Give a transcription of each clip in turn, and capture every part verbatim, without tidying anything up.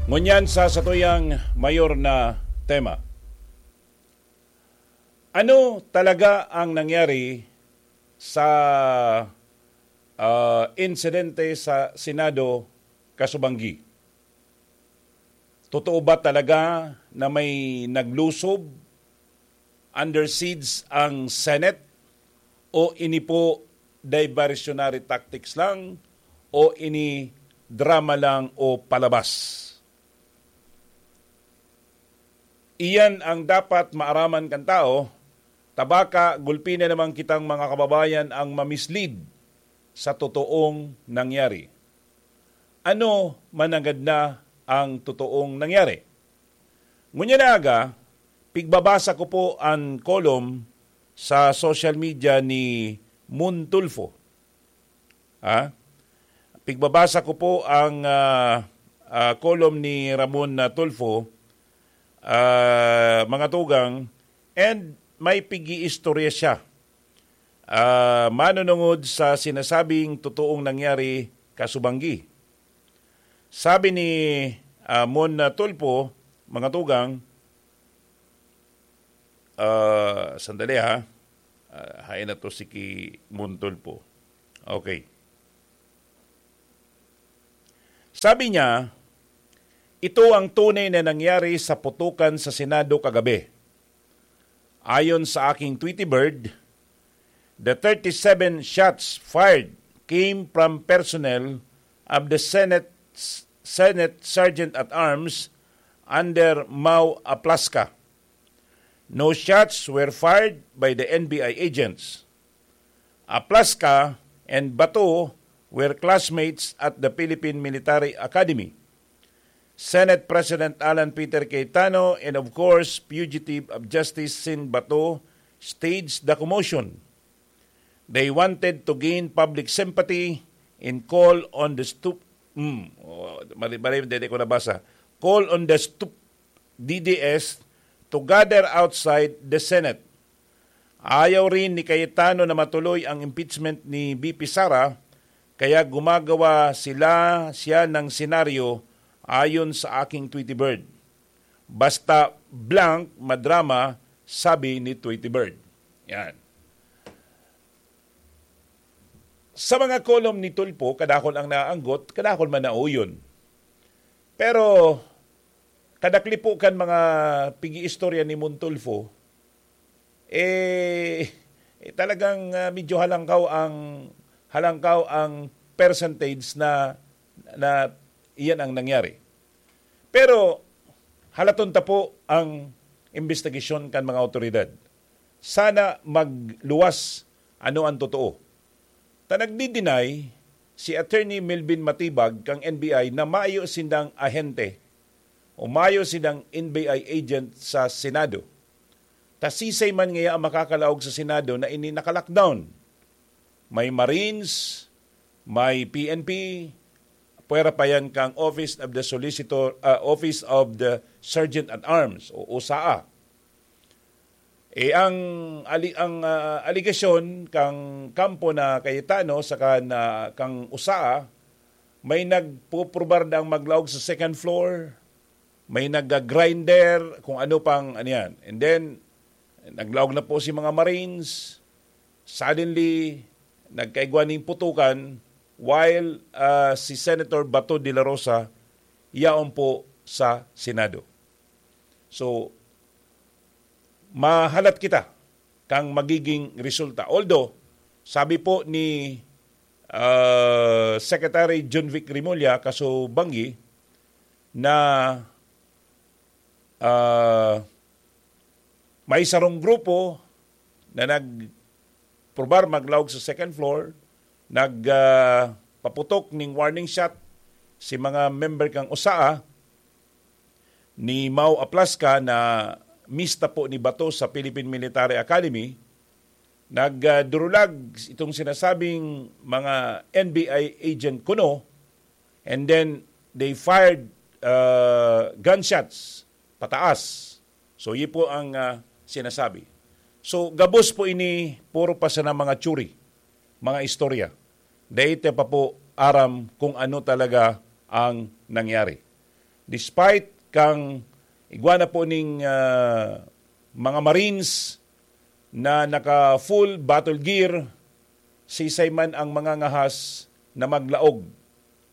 Ngunyan sa satuyang mayor na tema. Ano talaga ang nangyari sa, ah, insidente sa Senado kasubanggi? Totoo ba talaga na may naglusob, under siege ang Senate? O ini po diversionary tactics lang? O ini drama lang o palabas? Iyan ang dapat maaraman kan tao, ta baka gulpi na naman kitang mga kababayan ang ma-mislead sa totoong nangyari. Ano mananggad na ang totoong nangyari? Ngunyan na aga, pigbabasa ko po ang column sa social media ni Moon Tulfo. Ha? Pigbabasa ko po ang, ah, ah, column ni Ramon, ah, Tulfo, ah, mga tugang, and may pig-iistorya siya, ah, manunungod sa sinasabing totoong nangyari kasubanggi. Sabi ni, ah, Mon, ah, Tulfo, mga tugang, ah, sandali ha, ah, hain na to si ki Mon Tulfo. Okay. Sabi niya, "Ito ang tunay na nangyari sa putukan sa Senado kagabi. Ayon sa aking Tweety Bird, the thirty-seven shots fired came from personnel of the Senate, Senate Sergeant at Arms under Mau Aplasca. No shots were fired by the N B I agents. Aplasca and Bato were classmates at the Philippine Military Academy. Senate President Alan Peter Cayetano and, of course, fugitive of justice Sin Bato staged the commotion. They wanted to gain public sympathy and call on the stoop." Hmm, oh, mali, mali, hindi ko nabasa. "Call on the stoop D D S to gather outside the Senate. Ayaw rin ni Cayetano na matuloy ang impeachment ni V P Sara, kaya gumagawa sila, siya ng senaryo ayon sa aking Tweety Bird. Basta blank, madrama," sabi ni Tweety Bird. Yan. Sa mga column ni Tulfo, kadakol ang naanggot, kadakol man nauyon. Pero, kadaklipo kan mga pig-iistorya ni Mon Tulfo, eh, eh, talagang, ah, medyo halangkaw ang, halangkaw ang percentage na, na iyan ang nangyari. Pero halaton ta po ang imbestigasyon kan mga awtoridad. Sana magluwas ano ang totoo. Ta nagdi-deny si Attorney Melvin Matibag kan N B I na mayo sindang ahente o mayo sindang N B I agent sa Senado. Ta sisay man ngaya ang makakalaog sa Senado na ini naka-lockdown? May Marines, may P N P, pwera pa yan kang Office of the Solicitor, ah, Office of the Sergeant at Arms o OSAA. Eh, ang ali-, ang, ah, aligasyon kang kampo na Cayetano saka na kang OSAA, may nagpuprobar na ang maglaog sa second floor, may nag-grinder, kung ano pang ano yan. And then, naglaog na po si mga Marines. Suddenly, nagkaigwa ning putukan while, ah, si Senator Bato de la Rosa yaon po sa Senado. So, mahalat kita kang magiging resulta. Although, sabi po ni, ah, Secretary John Vic Remulla, kaso banggi, na, ah, may sarong grupo na nagprobar maglaog sa second floor, nag, ah, paputok ning warning shot si mga member kang OSAA, ni Mau Aplasca na mista po ni Bato sa Philippine Military Academy, nagdurulag itong sinasabing mga N B I agent kuno, and then they fired, uh, gunshots pataas. So, yun po ang, uh, sinasabi. So, gabos po ini, puro pa sana mga theory, mga istorya. Dai ta pa po aram kung ano talaga ang nangyari. Despite kang igwa na po ning, ah, mga Marines na naka full battle gear, sisay man ang mga ngahas na maglaog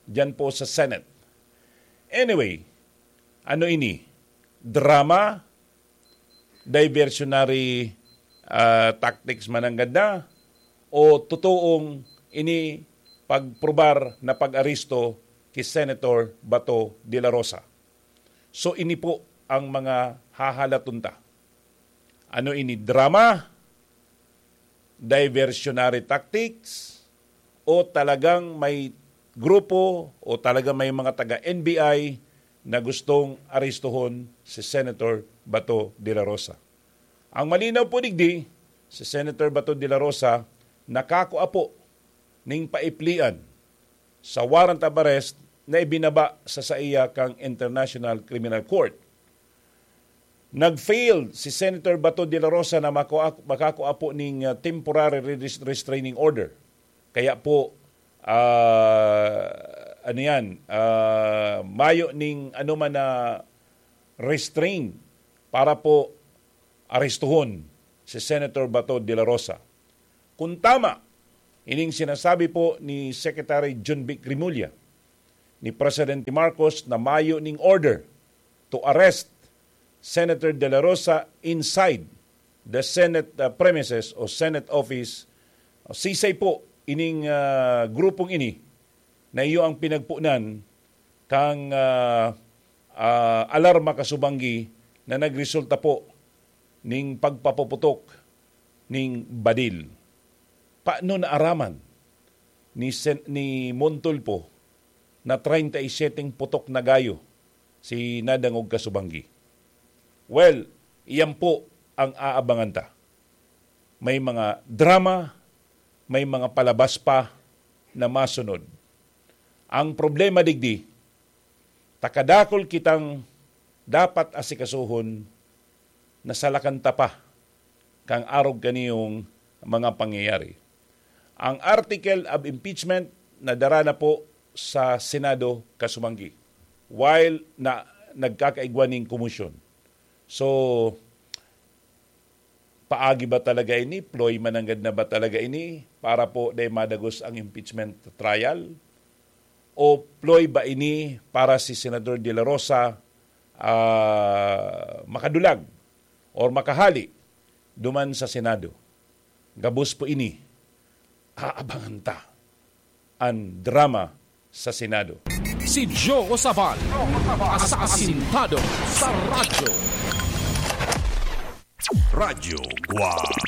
diyan po sa Senate. Anyway, ano ini? Drama? Diversionary, ah, tactics mananggad na? O totoong ini pagprobar na pag-aresto ki Senator Bato de la Rosa? So, ini po ang mga hahalaton ta. Ano ini, drama, diversionary tactics, o talagang may grupo o talagang may mga taga-N B I na gustong arestuhon si Senator Bato de la Rosa? Ang malinaw po digdi, si Senator Bato de la Rosa nakakua po ning paiplian sa warrant of arrest na ibinaba sa saiya kang International Criminal Court. Nag-fail si Senator Bato de la Rosa na makua-, makakua po ning, ah, temporary res-, restraining order. Kaya po, ah, ano yan, ah, mayo ning ano man na restrain para po arestuhon si Senator Bato de la Rosa. Kung tama, ining sinasabi po ni Secretary John Vic Remulla, ni Presidente Marcos na mayo ning order to arrest Senator De La Rosa inside the Senate, uh, premises o Senate office. Sisay po ining, uh, grupong ini na iyo ang pinagpunan kang, uh, uh, alarma kasubanggi na nagresulta po ning pagpapuputok ning badil. Paano naaraman ni Sen-, ni Montulfo na treinta y siete putok na gayo si nadangog kasubanggi? Well, iyan po ang aabangan ta. May mga drama, may mga palabas pa na masunod. Ang problema digdi, takadakol kitang dapat asikasuhon na salakan ta pa kan arog kaniyong mga pangyayari. Ang article of impeachment nadara na po sa Senado kasumanggi, while na nagkakaigwa ning komosyon. So, paagi ba talaga ini? Ploy mananggad na ba talaga ini para po dai madagos ang impeachment trial? O ploy ba ini para si Senador De La Rosa, ah, makadulag or makahali duman sa Senado? Gabos po ini, aabangan ta an drama sa Senado. Si Joe Sabal, asasintado sa radyo. Radyo Guwang.